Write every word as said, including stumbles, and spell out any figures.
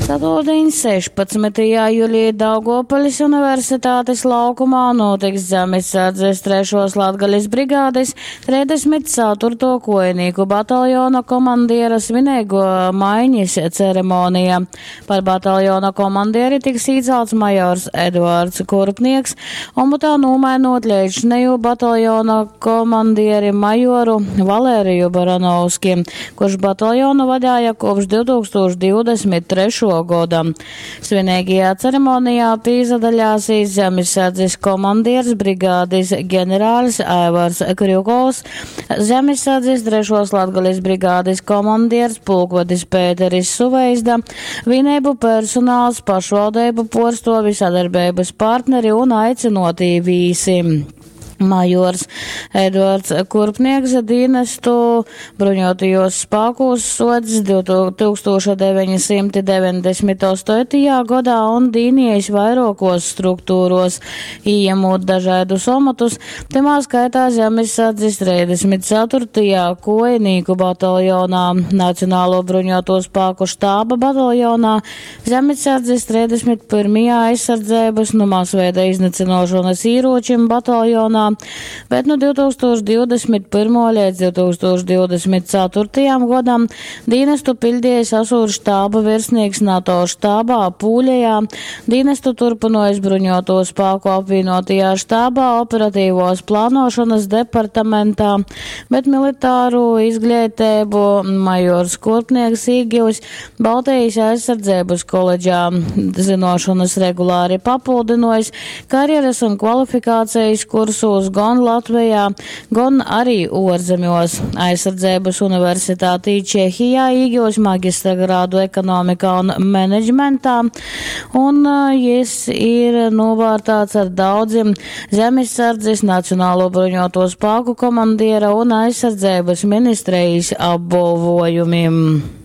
Ceturtdiņ, sešpadsmytajā julī Daugovpiļs Universitatis laukumā nūtiks Zemissardzes trešuos Latgalis brigādis treisdesmit ceturtuo kuojinīku bataljona komandiera svineiguo maiņis ceremonija. Par bataljona komandieri tiks īcalts majors Eduards Kurpnieks, omotā nūmainūt leidzšinejū bataljona komandieri majoru Valēriju Baranovski, kurš bataljonu vadēja kopš divtūkstoš divdesmit trešuo goda. Svineigajā ceremonijā pīzadaļāsīs Zemissardzes komandieris brigādis ģenerālis Aivars Krjukovs, Zemissardzes trešos Latgales brigādes komandieris pulkvedis Pēteris Suveizda, vienību personāls, pašvaldību porstovi, sadarbības partneri un aicinotī vīsi. Majors Eduards Kurpnieks dienestu bruņotajos spēkos sots divtūkstoš deviņsimt deviņdesmit astotajā gadā un dīnījis vairākos struktūros, ījemot dažādus omatus, tamā skaitā Zemessardzes trīsdesmit ceturtajā kojinīku bataljonā, Nacionālo bruņoto spēku štāba bataljonā, Zemessardzes trīsdesmit pirmajā aizsardzības no masveida iznīcināšanas ieročiem bataljonā, bet no divtūkstoš divdesmit pirmo līdz divtūkstoš divdesmit ceturtajam gadam dienestu pildījis Asūru štāba virsnieks NATO štābā Pūļajā, dienestu turpinojis bruņoto spēku apvienotajā štābā operatīvos plānošanas departamentā, bet militāru izglītību majors Kurpnieks īgivis Baltijas aizsardzības koledžā, zinošanas regulāri papildinojis karjeras un kvalifikācijas kursos gan Latvijā, gan arī ārzemjos. Aizsardzības universitātī Čehijā īgūs maģistra grādu ekonomikā un menedžmentā, un, ā, jis ir novērtāts ar daudziem Zemessardzes, Nacionālo bruņoto spēku komandiera un aizsardzības ministrijas apbalvojumiem.